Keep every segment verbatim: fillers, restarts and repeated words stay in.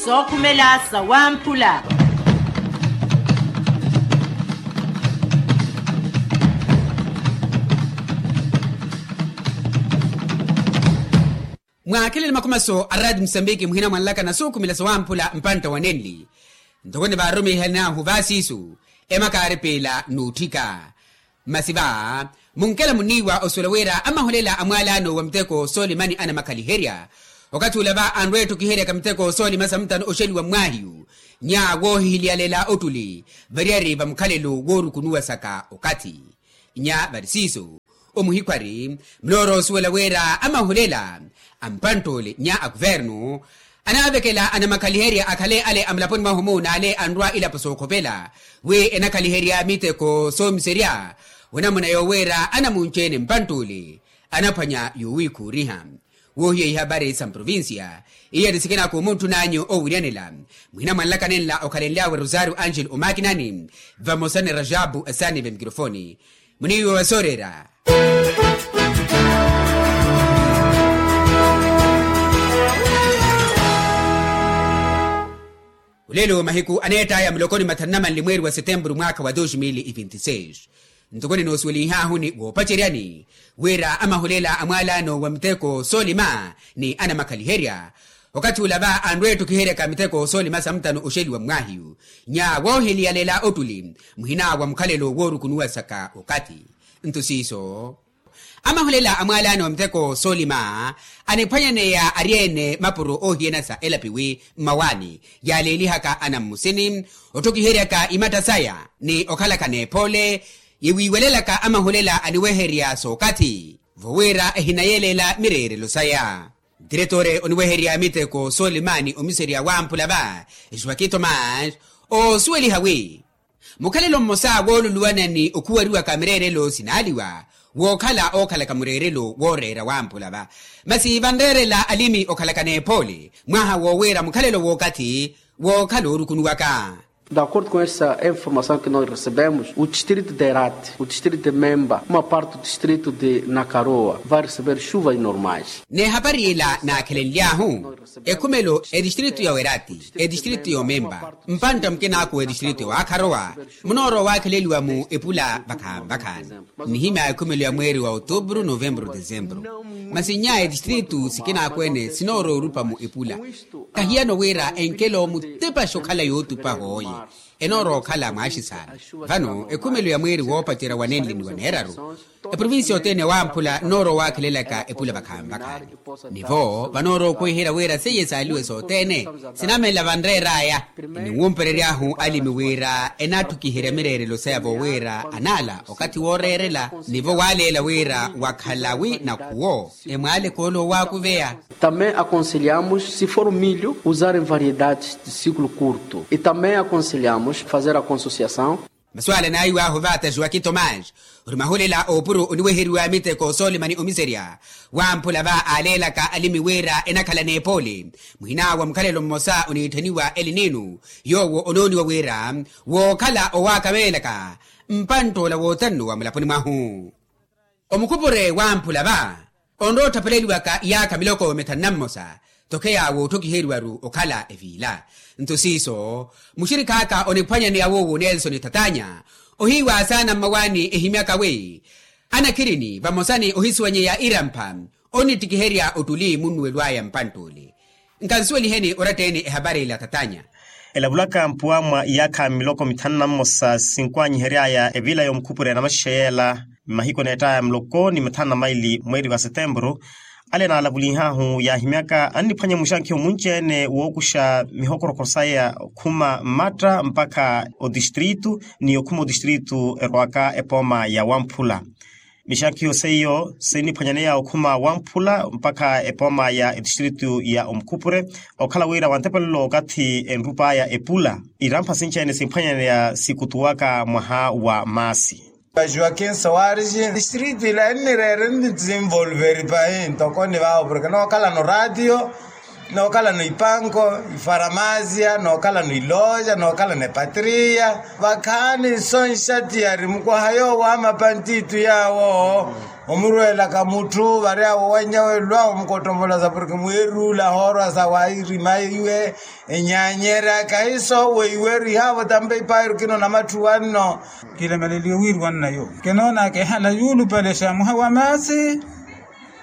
Sookhumela sawamphula. Mwaakhelele makhumaso a raati musambiki muhina mwanlaka na sookhumela sawamphula mpantta wa nenli. Ntoko ni vaarumihan'ahu vaasiisu emaka aaripiila n'utthika. Masi va munkela muniiwa osuwela wira amahulela a mwaalaano wa miteko soolima ni anamakhaliherya. Okathi ula va anrwa etthukiheryaka miteko soolima samutano oxeliwa mmwaahiyu nya woohihiliyalela ottuli variyari va mukhalelo woorukunuwasaka okathi. Nya vari siiso omuhikhwari munoora osuwela wira amahulela a mpantt'ole nya a kuvernu anaavekela anamakhaliherya akhale ale a mulaponi mwahu-mu n'ale anrwa ilapo sookhopela wi enakhaliherya miteko soomiserya. Onamuna yoowiira anamunci-ene mpantt'ule anaphwanya yowiikhuuriha. Woohiya ihapari sa mprovincia iya ni sikinaaku muntthun'anyu oowiryanela muhina mwanlaka nenla okhalenly'awe rosario angel omakinani vamosa ni rajabu asaani vemikirofoni. Muniiwe wa sooreera. Olelo mahiku aneett'aya muloko ni mathanu na manli mweeri wa setempuru mwaakha wa dos mil e vinti seis. Ntoko ninoosuwelinhaahu ni woopaceryani wira amahulela a mwaalaano wa miteko soolima ni anamakhaliherya. Okathi ula va anrwa etthukiheryaka miteko soolima samutano oxeliwa mmwaahiyu nya woohiliyalela ottuli muhina wa mukhalelo woorukunuwasaka okathi. Nto siiso amahulela a mwaalaano wa miteko soolima aniphwanyaneya ari-ene mapuro oohiyana sa elapi wi mmawaani yaaleelihaka anammusini otthukiheryaka imatta saya ni okhalaka n'epoole yiwiiwelelaka amahulela aniweherya sookathi vowira ehinayeleela mireerelo saya. Diretore oniweherya miteko soolima ni omiserya wamphula va joaquin thomas oosuweliha wi mukhalelo mmosa wooluluwana ni okhuwariwaka mireerelo sinaaliwa wookhala ookhalaka mureerelo wooreera wamphula va. Masi vanreerela alimi okhalaka n'ephoole mwaha woowiira mukhalelo wookathi wookhala oorukunuwaka. De acordo com essa informação que nós recebemos, o distrito de Herati, o distrito de Memba, uma parte do distrito de Nakaroa vai receber chuvas normais. N'ehapari ila naakhelenly'ahu ekhumelo etistritu ya werati, etistritu ya omemba, mpantta mukinaaku wa etistritu ya waakharowa munoorowa owaakheleliwa mu epula vakhaani-vakhaani. Nnihimya ekhumelo ya mweeri wa otubru novembru desembru. Masi nnya etistritu sikinaaku-ene sinoorowa orupa mu epula. Kahiyano wira enkelo mutepaxe okhala yootupa hooye enoorowa okhala mwaaxisaana. Vano ekhumelo ya mweeri woopacerya wa nenli ni wa neeraru eprovincia othene wamphula nnoorowa owaakhelelaka epula vakhaani-vakhaani. Nivo vanoorowa okhuwiherya wira seiye saaliwe sothene sinamela vanreer'aya. Ninwumperery'ahu alimi wira enatthukiherya mireerelo saya vowira anaala okathi wooreerela nivo waaleela wira wakhalawi nakhuwo emwaale koolo owaakuveya. Também aconselhamos se for milho usarem variedades de ciclo curto e também aconselhamos fazer a consociação. Masuala naiw'ahu vaata joaquin thomas ori mahulela oopuro oniweheriwa miteko soolima ni omiserya wamphula va aaleelaka alimi wira enakhala n'ephoole muhina wa mukhalelo mmosa oniitthaniwa elininu yoowo onooniwa wira wookhala owaakameelaka mpantt'ola wootanno wa mulaponi mwahu. Omukhupure wamphula va onrowa otthapeleliwaka iyaakha miloko mithanu na mmosa. Tokheya wootthokhiheriwaru okhala eviila nto siiso muxirikh'aka oniphwanyaneya woowo nelson thatanya ohiiwa saana mmawaani ehimyaka wi anakhirini vamosa ni ohisuwanyeya irampha onittikiherya ottuli munnuwelo aya mpantt'ule. Nkansuweliheni oratta-ene ehapari ila thatanya. Elavulaka mpuwa mwa iyaakha miloko mithanu na mmosa sinkuwanyihery'aya evila y'omukhupure na maxixeyela mmahiku eneett'aya muloko ni mithanu na maili mweeri wa setempuru. Ale naalavulinh'ahu yaahimyaka anniphwanya muxankhiyo munci-ene wookuxa mihokoroko saya okhuma mmatta mpakha otistritu ni okhuma otistritu erowaka epooma ya wamphula. Mixankhiyo seiyo sinniphwanyaneya okhuma wamphula mpakha epooma ya etistritu ya omukhupure okhala wira wantepelelo okathi enrup'aya epula irampha sinci-ene simphwanyaneya sikutuwaka mwaha wa maasi. Joaquin soares distritu ila ennireere nnidesenvolveri pahi ntoko ni vaavo porke nookhalano ratio nookhalano ipanko ifaramasia nookhalano iloja nookhalano epatria vakhaani nsonxa tiyari mukwaha yoowo amapantitu yaawo. Omurweelaka mutthu vari awo wannya welwawo mukottomolaza porke mweeruula ahoorwasa wairima iwe enyaanyerya kahiso weiweru ihaavo tampa ipaayiru kino namatthuwa nno. Kilemeleliwe wiiruwa nnayo kinoonaka ehala yuulupelexa mwaha wa maasi.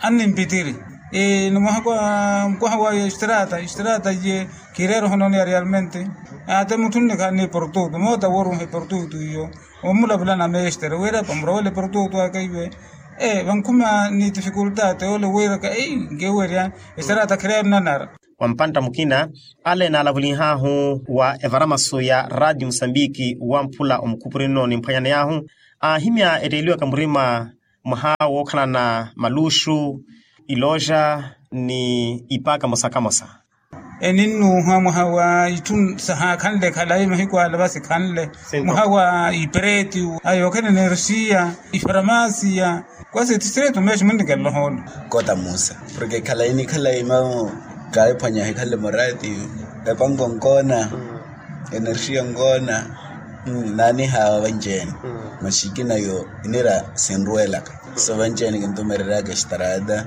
Annimpitiri ni mwaha kwa mukwaha wa estrata estrata iye. Kireera ohononeya realmente. Ate mutthu nnikhala ni portutu moota wooruha eportutu iyo. Omulavula na mestre wira pamurowela eportutu aka iwe. Vankhuma ni tifikultate ole wiiraka ei nkewerya. Estrata kireera nnanara. Wa mpantta mukina ale naalavulihahu wa evaramasu ya radio musambiki wamphula omukhupuri nno nimphwanyaneyahu aahimya etteeliwaka murima mwaha wookhalana maluxu ilooxa ni ipaaka mosakamosa. Eninnuuha mwaha wa itthu sahaakhanle khalayi mahiku ala vasikhanle mwaha wa ipereti ayookhala enerxiya ifaramasiya kwasi tistrito meexi munnikela ohoolo. Kota musa porke khalayi ni khalayi mamu kaayiphwanya hikhanle murati epanko nkoona enerxiya nkoona naanihawa vanci-ene. Maxikina yo inira sinruwelaka so vanci-ene kintumereryaka estrata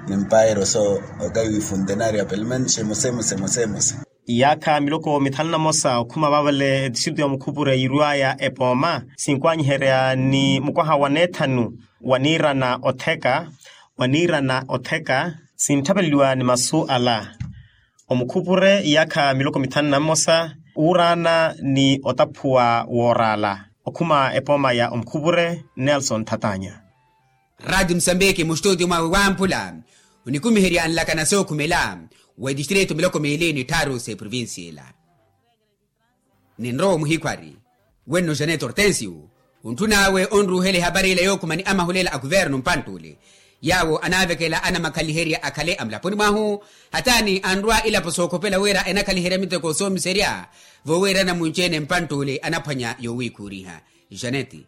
ni mpairo so okayi wifuntenaria pelmento xemosemosemosemosa. Iyaakha miloko mithanu na mosa okhuma vaavale etistritu ya mukhupure yiirwaya epooma sinkwanyiherya ni mukwaha wa neethanu wa niirana otheka wa niirana otheka sintthapeleliwa ni masu ala. Omukhupure iyaakha miloko mithanu na mmosa wuuraana ni otaphuwa wooraala okhuma epooma ya omukhupure nelson thatanya. Radi musambiki mustutio mwawe wamphula onikumiherya nlakana sookhumela wa etistritu miloko miili ni tthaaru s'eprovincia ela. Ninrowa omuhikhwari wenno janet hortensio ontthun'awe onruuhela ehapari ela yookhuma ni amahulela a kuvernu mpanttuli yaawo anaavekela anamakhaliherya akhale amulaponi mwahu. Hataani anrwa ilapo sookhopela wira enakhaliherya miteko soomiserya voowirana munci-ene mpanttuli anaphwanya yoowiikhuuriha. Janeti.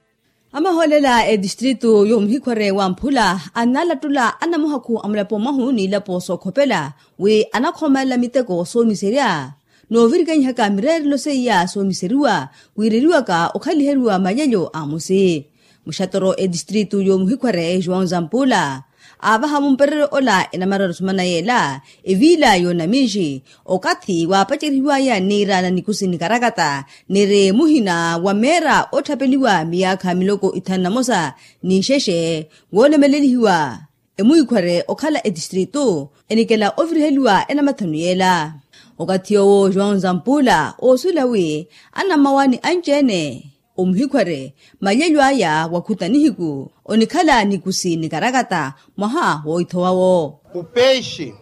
Amahoolela a etistritu y'omuhikhware wamphula annalattula anamuhakhu a mulapo mwahu n'ilapo sookhopela wi anakhoomelela miteko soomiserya. N'ovirikanyihaka mireerelo seiya soomiseriwa wiireriwaka okhaliheriwa malyelyo a musi. Muxatoro etistritu y'omuhikhware joão zampulla aavaha mumpereryo ola enamarari osumana yeela eviila y'onaminxi okathi waapacerihiwaya niira na nikusi nikarakata niri muhina wa meera otthapeliwa miyaakha miloko ithanu na mosa n'ixexe woolemelelihiwa. Emuhikhware okhala etistritu enikela oviriheliwa enamathanu yeela. Okathi yoowo joão zampulla oosuwela wi anammawaani anci-ene omuhikhware malyelyo aya wakhuta nihiku onikhala nikusi nikarakata mwaha wooithowawo. O peixe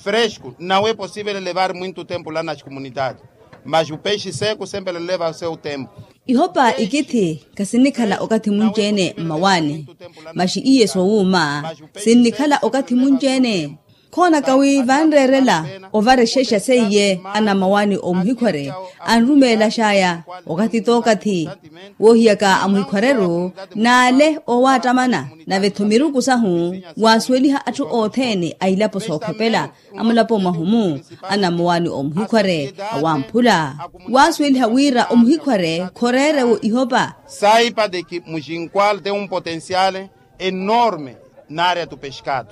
fresco não é possível levar muito tempo lá nas comunidades, mas o peixe seco sempre leva o seu tempo. Ihopa ikithi khasinnikhala okathi munci-ene mmawaani masi iye soowuuma sinnikhala okathi munci-ene. Khoonaka wi vanreerela ovarexexa seiye anammawaani omuhikhware anrumeelaxaya okathi t'okathi woohiyaka amuhikhwareru n'ale oowaattamana nave-tho miruku sahu waasuweliha atthu othene a ilapo sookhopela a mulapo mwahu-mu anammawaani omuhikhware awamphula waasuweliha wira omuhikhware khoreere-wo ihopa. Saipa de ki muxinqual tem um potencial enorme na área do pescado.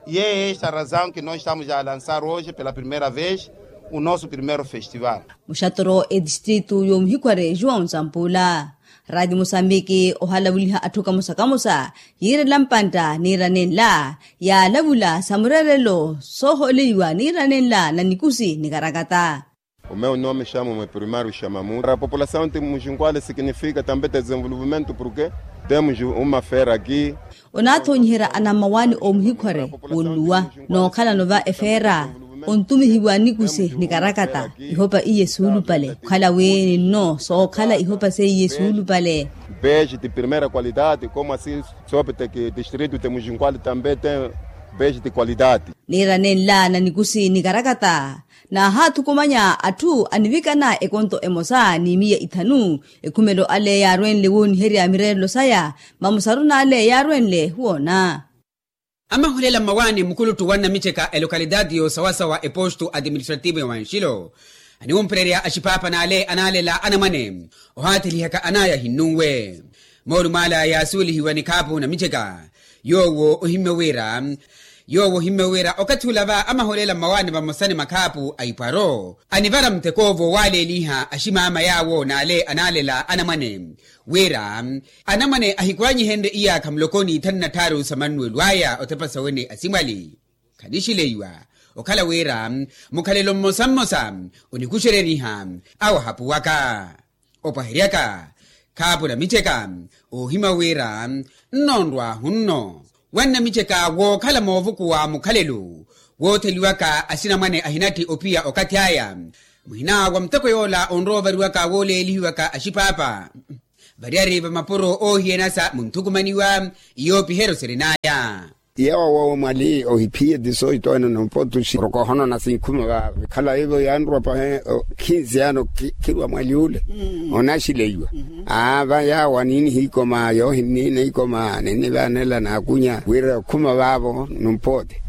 E é esta razão que nós estamos a lançar hoje pela primeira vez o nosso primeiro festival. Muxatoro etistritu y'omuhikhware joão zampulla. Radi musambiki ohalavuliha atthu kamosa kamosa yiirela mpantta niira nenla yaalavula sa mureerelo soohooleliwa niira nenla na nikusi nikarakata. O meu nome chamo-me primário chamamu a população de muxinqual significa também desenvolvimento porke temos uma fera aqui. Onaathoonyiherya anammawaani oomuhikhware wonnuwa nookhalano va efeera ontumihiwa nikusi nikarakata ihopa iye suulupale okhala wi ninno sookhala ihopa seiye suulupale. Peixe de primeira qualidade como assi soopiteke distrito de muxinqual também tem peixe de qualidade. Niira nenla na nikusi nikarakata naahaathukumanya atthu anivikana ekonto emosa ni miya ithanu. Ekhumelo ale yaarwenle wooniherya mireerelo saya mamusaru n'ale yaarwenle woona. Amahulela mmawaani mukuluttu wa nnamiceka elocalidade y'osawasawa epostu administrativo ya wanxilo aniwumpererya axiphaapha n'ale anaalela anamwane ohaathilihaka anaya ahinnunwe. Moolumo ala yaasuwelihiwa ni khaapu namiceka Yoowo ohimmye wira yoowo ohimmye wira okathi ula va amaholela mmawaani vamosa ni makhaapu a ipwaro anivara mutekoovo waaleeliha aximaama yaawo n'ale anaalela anamwane wira anamwane ahikwaanyihenrye iyaakha muloko n'ithanu na tthaaru sa mannuwelo aya othepa sawene asimwali. Khanixileiwa okhala wira mukhalelo mmosa mmosa onikuxereriha awo ahapuwaka opwaheryaka khaapu namiceka oohimya wira nnonrwahu nno wannamiceka wookhala moovukuwa mukhalelo wootheliwaka axinamwane ahinatthi ophiya okathi aya muhina wa muteko yoola onrowa ovariwaka wooleelihiwaka axipaapa variyari va mapuro oohiyanasa munthukumaniwa iyoopiheryo sirin'aya. Yeewa woowo mwali ohiphiye tisoito eno nompotuxi rokohonona sinkhuma va vikhala ivo yanrwa pahe khinsi yano khirwa mwali ule onaxileiwa. Aa va yaawo aniiniha ikoma yoohinniina ikoma ninnivaanela naakunya wira okhuma vaavo nompoote.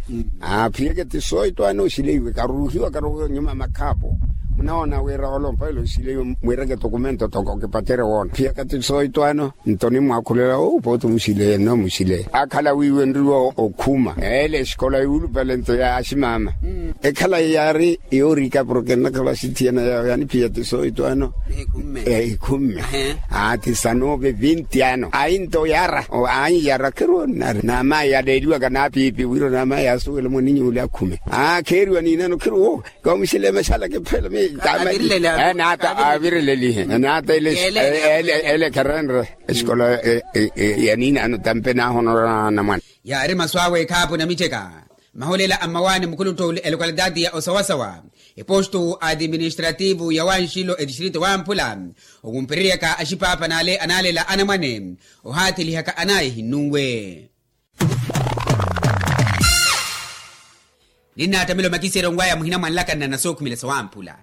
Aa phiyeke tisoito ano oxileiwe karuruhiwa karuruhiwa nyuma makhaapo munaona wira olompelo oxileiwe mwireke tokumento toko kipatere woona phiyaka tisoito ano. Nto nimwaakhulela opoote omuxileiye nno omuxileiye akhala wiiwenriwa okhuma ele exikola yuulupale nto ya aximaama ekhala yaari yoorika porke nnakhala axithiyana yaawo yaniphiya tisoito ano. Ekhumme ati sanove vinti ano ayi nto yara ayi yara khirwo nari namayi yaleeliwaka naapiipi wira namayi yaasuwela mwaninyu ule akhume aa kheeriwa niinano khirwo kamuxile maxala kiphela mi. Naata avirilelihe naata ele ele kherenre exikola ya niinano tampe naahonorana mwana. Yaari masu awe ekhaapu namiceka maholela a mmawaani mukhuluttu ole elokalitaati ya osawasawa epostu administrativu ya wanxilo etistrito wamphula owumpereryaka axipaapa n'ale anaalela anamwane ohaathelihaka anaya ehinnunwe. Ninnaattamela omakiseryo nwaya muhina mwanlakana na sookhumela sawamphula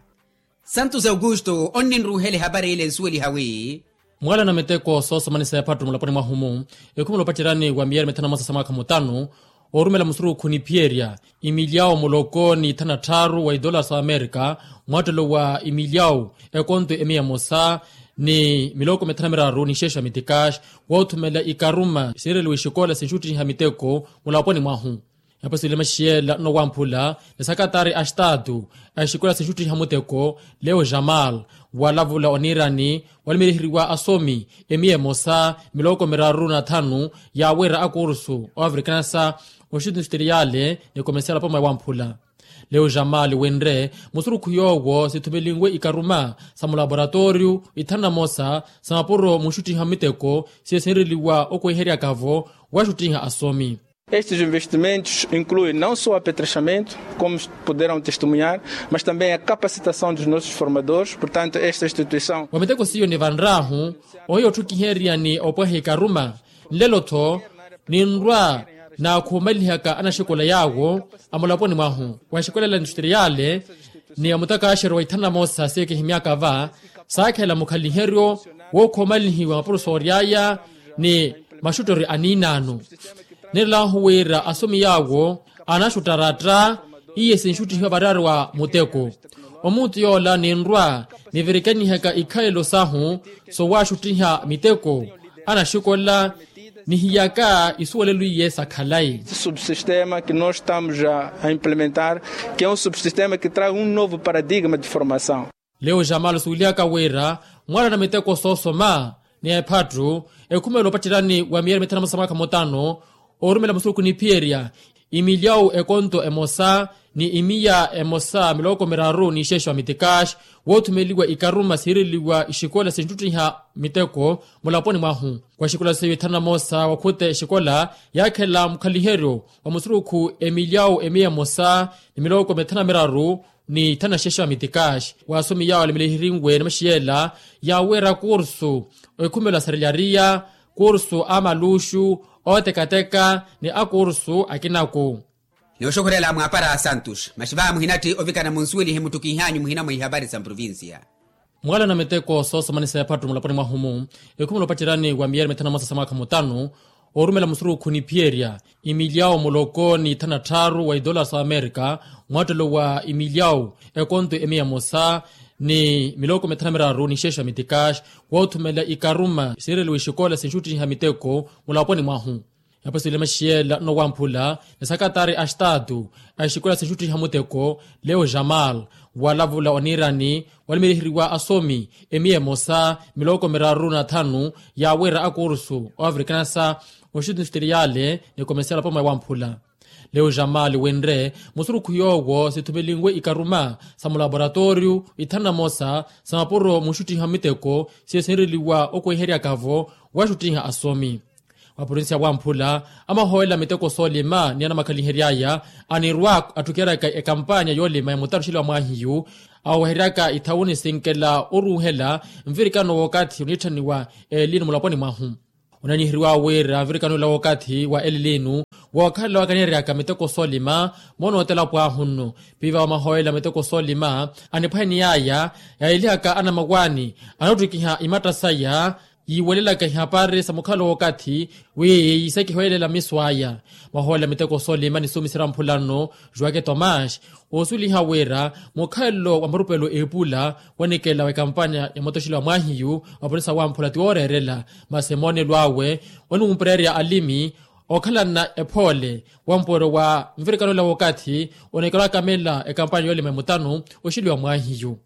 santos augusto onninruuhela ehapari ile nsuweliha wi. Mwala na miteko soosomanisa ephattu mulaponi mwahu-mu ekhumela opacerani wa miyeri mithanu na mosa sa mwaakha mutanu oorumela musurukhu niphiyerya imilyawu muloko ni ithanu na tthaaru wa idolara sa amerika mwaattelo wa imilyawu ekonto emiya emosa ni miloko mithanu na miraru ni xeexa mitikaxi woothumela ikaruma siireliwa exikola sinxuttiha miteko mulaponi mwahu. Epaso ile maxiyela nnowamphula ni sakatari a xitaatu a exikola sinxuttiha muteko leo jamal walavula oniirani walimiriheriwa asomi emiya emosa miloko miraru na thanu yaawira akursu oafrikanasa oxuti nsuteriyale ni komersial poma ewamphula. Leo jamal wenre musurukhu yoowo sithumelinwe ikaruma sa mulaboratoriyu ithanu na mosa sa mapuro muxuttiha miteko siye sinreliwa okweheryaka-vo waxuttiha asomi. Estes investimentos incluem não só apetrechamentos como poderão testemunhar mas também a capacitação dos nossos formadores portanto esta instituição. Wa miteko siyo nivanrahu ohiya otthukiheryani opweha ikaruma nlelo-tho ninrwa naakhumalihaka anaxikola yaawo amulaponi mwahu wa exikola ela nsuteriyale ni amutakaxeryo wa ithanu na mosa siye kihimyaka va saakhela mukhaliheryo wookhomalihiwa mapurusoori aya ni maxuttori aniinaano. Nirelahu wira asomi yaawo anaxuttaratta iye sinxuttihiwa variyari wa muteko omuutu yoola ninrwa nivirikanihaka ikhalelo sahu sowaxuttiha miteko anaxikola nihiyaka isuwelelo iye sa khalayi. Subsistema que nos estamos a implementar que é um subsistema que traz um novo paradigma de formação. Leo jamal suwilihaka wira mwala na miteko soosoma ni ephattu ekhumela opatterani wa miyeri mithanu na mosa sa mwaakha mutano oorumela musurukhu niphiyerya imilyawu ekonto emosa ni imiya emosa miloko miraru ni ixeexa wa mitikaxi woothumeliwa ikaruma siireliwa ixikola sinxuttiha miteko mulaponi mwahu. Wa exikola seiyo ithanu na mosa wakhute exikola yaakhelela mukhaliheryo wa musurukhu emilyawu emiya emosa ni miloko mithanu na miraru ni ithanu na xeexa wa mitikaxi waasomi yaawo alimiliherinwe ni maxiyela yaawira kursu ekhumelo a sarelariya kursu a maluxu ootekateka ni akursu akinaku. Nooxokhorela mwaapara a santos maxi vaamuhinatthi ovikana munsuwelihe muttukihanyu muhina mwa ihavari sa mprovincia. Mwala na miteko soosomanisa ephattu mulaponi mwahu-mu ekhumela opatterani wa miyeri mithanu na mosa sa mwaakha mutanu oorumela musurukhu niphiyerya imilyawu muloko ni ithanu na tthaaru wa idolara sa amerika mwaattelo wa imilyawu ekonto emiya emosa ni miloko mithanu na miraru ni xeexa mitikaxi woothumela ikaruma siireliwa ixikola sinxuttiha miteko mulaponi mwahu. Napwesile maxiyela nno wamphula ni sakatari a estatu a exikola sinxuttiha muteko leo jamal, walavula oniirani walimiriheriwa asomi emiya emosa miloko miraru na thanu ya wira akursu o afrikanasa oxuti nsutiriyale ni komesiyala poma ya wamphula. Leo jamal winre musurukhu yoowo sithumelinwe ikaruma sa mulaboratoriyu ithanu na mosa sa mapuro munxuttiha miteko siyo sinreliwa okweheryaka-vo waxuttiha asomi. Wa provinsi ya wamphula amahoolela miteko soolima ni anamakhaliheryaya anirwa atthukeryaka ekampanya yoolima ya mutano oxeliwa mwaahiyu aweheryaka ithawuni sinkela oruuhela nvirikano w'okathi oniitthaniwa elinu mulaponi mwahu. Onaniheriwa wira nvirikano ila w'okathi wa elilinu wookhalela wakaneeryaka miteko soolima moonootela pwaahu nno. Piva wamahoolela miteko soolima aniphwaneniyaya yaayelihaka anamawaani anoottikiha imatta saya yiiwelelaka ihapari sa mukhalo w'okathi wi yiisakihoyelela miso aya. Mwahoolela miteko soolima nisuumisira mphula nno juwake tomas oosuliha wira mukhalelo wa murupelo eepula wanikela w'ekampanya ya motoxilo wa mwaahiyu wa polisa wamphula ti wooreerela masi emoonelo awe oniwumpererya alimi okhalana ephoole wa mpooro wa nvirikano ela w'okathi onekerwa akamela ekampanya yoolima emutano oxeliwa mwaahiyu.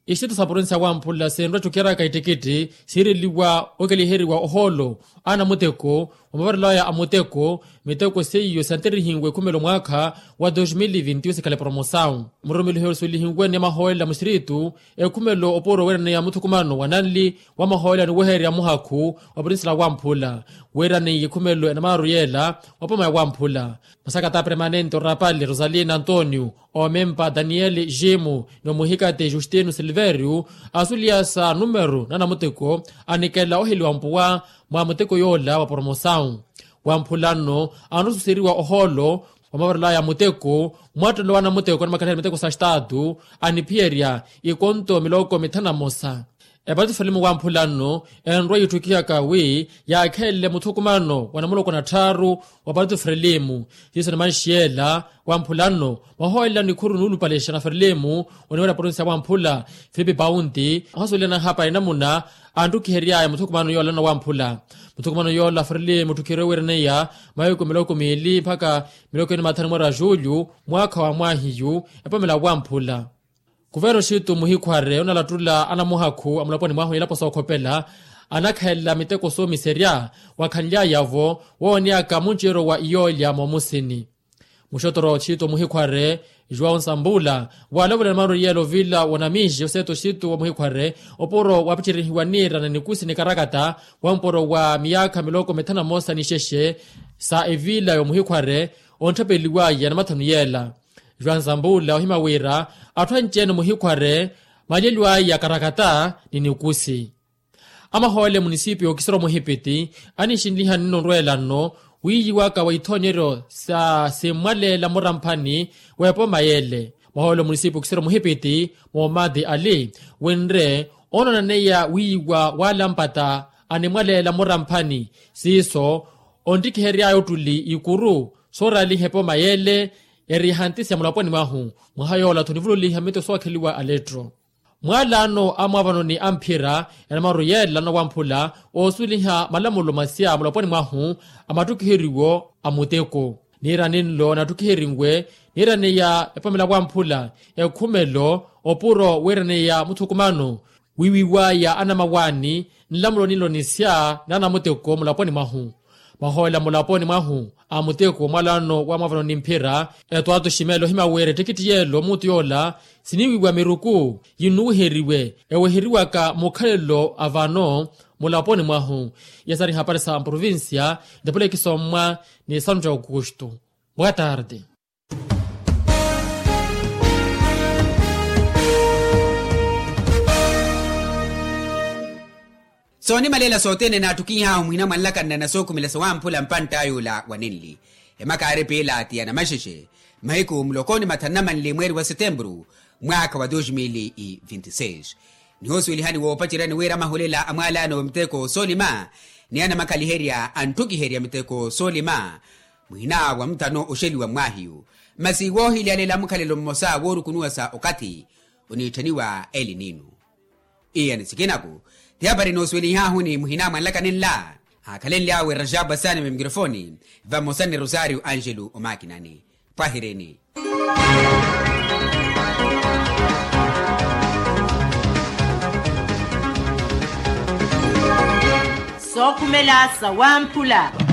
Ixitto sa provinsi ya wamphula sinrwa ettukeraka ettikitti siireliwa okeliheriwa ohoolo a anamuteko wa mavarelo aya a muteko miteko seiyo siyanterihiwe ekhumelo mwaakha wa dos mil e vinte sikhale promosawu. Murumiliho esulihiwe ni amahoolela muxiritu ekhumelo opuro weeraneya muthukumano wa nanli wa amahoolela ni wehererya muhakhu wa provinsi la wamphula weeraneiye ekhumelo enamaaru yeela wa poma ya wamphula. Masakata permanente orapali rosalina antonio omempa daniel jimo ni omuhikati justino silverio asuliya sa numero na anamuteko anikela oheliwa mpuwa mwa muteko yoola wa promosawu. Wamphula nno anrususeriwa ohoolo wa mavarelo aya a muteko mwattelo wa anamuteko anamakhaliherya miteko sa estatu aniphiyerya ikonto miloko mithanu na mosa. Eparti frelimu wamphula nno enrwa yiitthukihaka wi yaakhelele muthukumano wa namuloko na tthaaru wa parti frelimu siiso ni manxiyela wamphula nno mwahoolela nikhuru nuulupalexa na frelimu oniwerya provinsi ya wamphula filipi paunti ohasuwelana hapari namuna anttukiheryaya muthukumano yoola nno wamphula. Muthukumano yoola frelimu otthukiherye oweeraneya mahiku miloko miili mpakha miloko ini mathanu mweera julyu mwaakha wa mwaahiyu epomela wamphula. Kuverno oxitu muhikhware onalattula anamuhakhu a mulaponi mwahu elapo sookhopela anakhalela miteko soomiserya wakhanlyaya-vo wooneyaka munceeryo wa iyoolya moomusini. Muxotoro oxitu muhikhware juwao nsambula waalavula ni maaroriyelo vila wa namixi oseeta oxitu wa muhikhware opuro waapicerihiwa niira na nikusi ni karakata wa mpuro wa miyaakha miloko mithanu na mosa ni xexe sa evila ya omuhikhware ontthapeliwaya na mathanu yeela. Juwao nsambula ohima wira atthu anci-ene muhikhware maalyeliwaya karakata ni nikusi. Amahoolela emunisipiyu okisira omuhipiti anixinliha nno onrweela nno wiiyiwaka wa ithoonyeryo sa simmwaleela muramphani w'epoma yeele. Mwahoolela omunisipiyu okisira omuhipiti moomadi ali winre oononaneya wiiyiwa waalampata animwaleela muramphani siiso onttikiheryaya ottuli ikuru sooraaliha epoma yeele. Yariiha ntisi ya mulaponi mwahu mwaha yoola-tho onivululiha mito sookheliwa alettro. Mwaalaano a mwaavano ni amphira enamaaru yeela nowamphula oosuweliha malamulo masiya mulaponi mwahu a mattukiheriwo a muteko. Niirani nlo nattukiherinwe niirani ya epomela wamphula ekhumelo opuro wiiraneya muthukumano wiiwiwaya anamawaani nlamulo ninlo nisya na anamuteko mulaponi mwahu. Mwahoolela mulaponi mwahu a muteko mwalaano wa mwaavano ni mphira etwaatu ximelo ohima wira ettikitti yeelo muutu yoola siniiwiwa miruku yinnuwiheriwe eweheriwaka mukhalelo a vano mulaponi mwahu. Yasari hapari sa mprovincia ntapula ekisommwa ni santu ja aukustu. Boa tarde. Soonimalela sothene naattukihahu muhina mwanlakanna na sookhumela sawamphula mpantta yuula wa ninli emakaari pilaati ya namaxexe mahiku muloko ni mathanu na manli mweeri wa setempuru mwaakha wa dos mil e vinte seis. Nihoosuwelihani woopaceryani wira amahulela a mwaalaano wa miteko soolima ni anamakhaliherya antthukiherya miteko soolima muhina wa muthano oxeliwa mmwaahiyu masi woohilyalela mukhalelo mmosa woorukunuwa sa okathi oniitthaniwa elinino. Iye ni sikinaku ti hapari noosuwelihahuni muhina mwanlaka ninla. Aakhalenly'awe rajabu asaani mwa mikirofoni, vamosa ni rosario angelo omakinani. Pwahirini. Sookhumela sawamphula.